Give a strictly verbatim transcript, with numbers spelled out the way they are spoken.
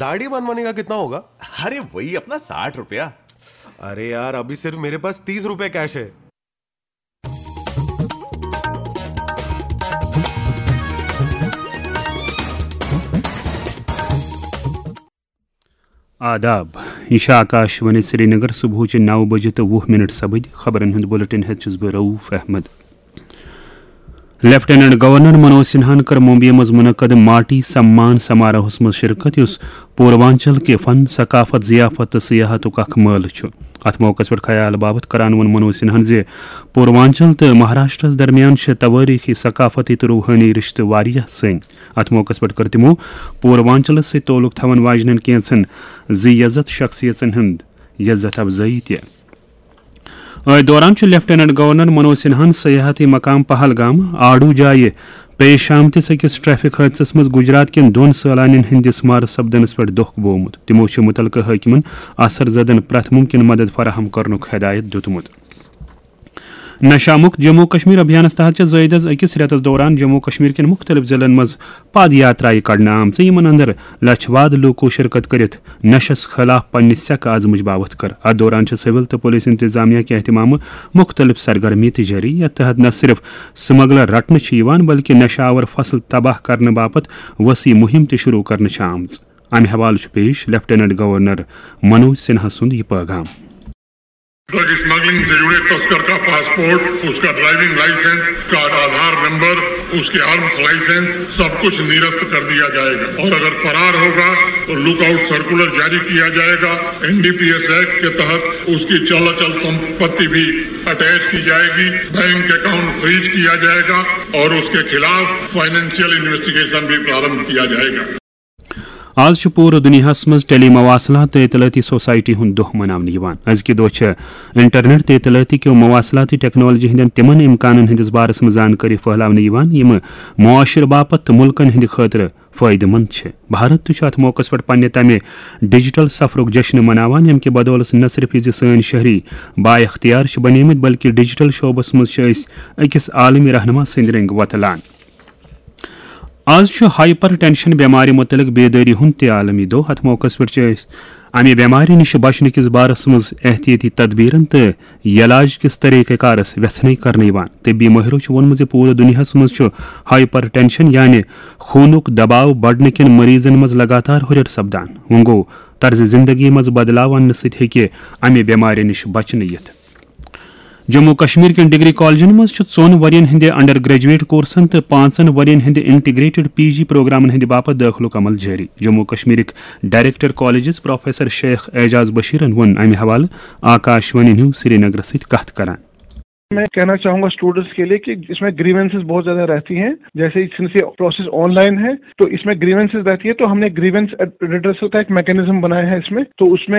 साड़ी बनवाने का कितना होगा? अरे, वही अपना साठ रुपया। अरे यार, अभी सिर्फ मेरे पास तीस रुपए कैश है। آداب، یہ چھِ آکاش وانی سرینگر۔ صبحٕچہِ نَو بجہِ تہٕ وُہ منٹ سپٕدۍ۔ خبرن ہُنٛد بلیٹن ہیٚتھ چھُس بہٕ رؤف احمد۔ لیفٹیننٹ گورنر منوج سنہاہن کٔر ممبیہِ منٛز منعقد ماٹی سمان سماروہس منٛز شرکت، یُس پوروانچل کہِ فن، ثقافت، ضیافت تہٕ سیاحتُک اکھ مٲلہٕ چھُ۔ اتھ موقعس پٮ۪ٹھ خیال باپتھ کران ووٚن منوج سنہاہن زِ پوروانچل تہٕ مہاراشٹرس درمیان چھِ توٲریخی، ثقافتی تہٕ روحٲنی رشتہٕ واریاہ سرٛنۍ۔ اتھ موقعس پٮ۪ٹھ کٔر تِمو پوروانچلس سۭتۍ تعلق تھاون واجنٮ۪ن کینژن زِ عزت شخصیژن ہُنٛد عزت افزٲیی تہِ۔ أتھۍ دوران چھُ لیفٹیننٹ گورنر منوج سنہاہن سیاحتی مقام پہلگام آڑو جایہِ پیش آمتِس أکِس ٹریفک حٲدثس منٛز گجرات کٮ۪ن دۄن سٲلانٮ۪ن ہٕنٛدِس مارٕ سپدنس پٮ۪ٹھ دۄکھ بوومُت۔ تِمو چھُ مُتعلقہٕ حٲکمن اثر زدن پرٛٮ۪تھ مُمکِن مدد فراہم کرنُک ہدایت دِیُتمُت۔ نشہ مکت جموں کشمیر ابھیانس تحت چھِ زٲیدس أکِس رٮ۪تس دوران جموں کشمیر کٮ۪ن مُختٔلِف ضلعن منٛز پد یاترایہِ کڑنہٕ آمژٕ، یِمن اندر لچھ واد لوٗکو شرکت کٔرِتھ نشس خلاف پننہِ سیکہٕ عزمٕچ باوتھ کٔر۔ اتھ دوران چھِ سول تہٕ پولیس انتظامیہ کہِ اہتمامہٕ مُختٔلِف سرگرمی تہِ جٲری، یتھ تحت نہ صرف سمگلر رٹنہٕ چھِ یِوان، بلکہِ نشہ آور فصل تباہ کرنہٕ باپتھ وسیع مُہِم تہِ شروع کرنہٕ چھِ آمٕژ۔ امہِ حوالہٕ چھُ پیش لیفٹیننٹ گورنر منوج سنہا سُنٛد یہِ پیغام۔ ڈرگ اسمگلنگ سے جڑے تسکر کا پاسپورٹ، اس کا ڈرائیونگ لائسنس، اس کا آدھار نمبر، اس کے آرمز لائسنس، سب کچھ نرست کر دیا جائے گا اور اگر فرار ہوگا تو لک آؤٹ سرکولر جاری کیا جائے گا۔ N D P S act کے تحت اس کی چل اچل سمپتی بھی اٹیچ کی جائے گی، بینک اکاؤنٹ فریز کیا جائے گا اور اس کے خلاف فائنینشیل انویسٹیگیشن بھی پرارمبھ کیا جائے گا۔ آز چھُ پوٗرٕ دُنیاہَس منٛز ٹیلی مواصلات تہٕ اطلاعاتی سوسائٹی ہُنٛد دۄہ مناونہٕ یِوان۔ أزکہِ دۄہ چھِ انٹرنیٹ تہٕ اطلاعاتی کیو مواصلاتی ٹیکنالوجی ہٕنٛدٮ۪ن تِمن امکانن ہٕنٛدِس بارس منٛز زانکٲری پھٔہلاونہٕ یِوان، یِم معاشرٕ باپتھ تہٕ مُلکن ہٕنٛدِ خٲطرٕ فٲیدٕ مند چھِ۔ بھارت تہِ چھُ اتھ موقعس پٮ۪ٹھ پننہِ تمہِ ڈیجیٹل سفرُک جشن مناوان، ییٚمہِ کہِ بدولس نہ صرف یہِ زِ سٲنۍ شہری با اختیار چھِ بنیمٕتۍ، بلکہِ ڈیجیٹل شعبس منٛز چھِ أسۍ أکِس عالمی رہنما سٕنٛدۍ رنٛگۍ وۄتلان۔ آز چھُ ہائپر ٹینشن بٮ۪مارِ مُتعلق بیدٲری ہُنٛد تہِ عالمی دۄہ۔ اتھ موقعس پٮ۪ٹھ چھِ أسۍ امہِ بٮ۪مارِ نِش بچنہٕ کِس بارس منٛز احتیاطی تدبیرن تہٕ یلاج کِس طریقہ کارس ویژھنے کرنہٕ یِوان۔ طبی مٲہرو چھُ ووٚنمُت زِ پوٗرٕ دُنیاہس منٛز چھُ ہائپر ٹینشن یعنی خوٗنُک دباو بڑنہٕ کٮ۪ن مریضن منٛز لگاتار ہُرٮ۪ر سپدان۔ وۄنۍ گوٚو، طرزِ زندگی منٛز بدلاو اننہٕ سۭتۍ ہیٚکہِ امہِ بٮ۪مارِ نِش بچنہٕ یِتھ۔ جموں کشمیر کٮ۪ن ڈگری کالجن منٛز چھُ ژۄن ؤرین ہٕنٛدِ انڈر گریجویٹ کورسن تہٕ پانٛژن ؤرین ہٕنٛدِ انٹیگریٹڈ پی جی پروگرامن ہٕنٛدِ باپتھ دٲخلُک عمل جٲری۔ جموں کشمیرٕکۍ director colleges professor Sheikh Ejaz بشیرن ووٚن امہِ حوالہٕ آکاش وانی نیوز سرینگرس سۭتۍ کتھ کران۔ میں کہنا چاہوں گا اسٹوڈنٹس کے لیے کہ اس میں گریونسز بہت زیادہ رہتی ہیں۔ جیسے سنس یہ پروسیس آن لائن ہے تو اس میں گریونسز رہتی ہے، تو ہم نے گریونس ریڈریسل کا ایک میکانزم بنایا ہے اس میں۔ تو اس میں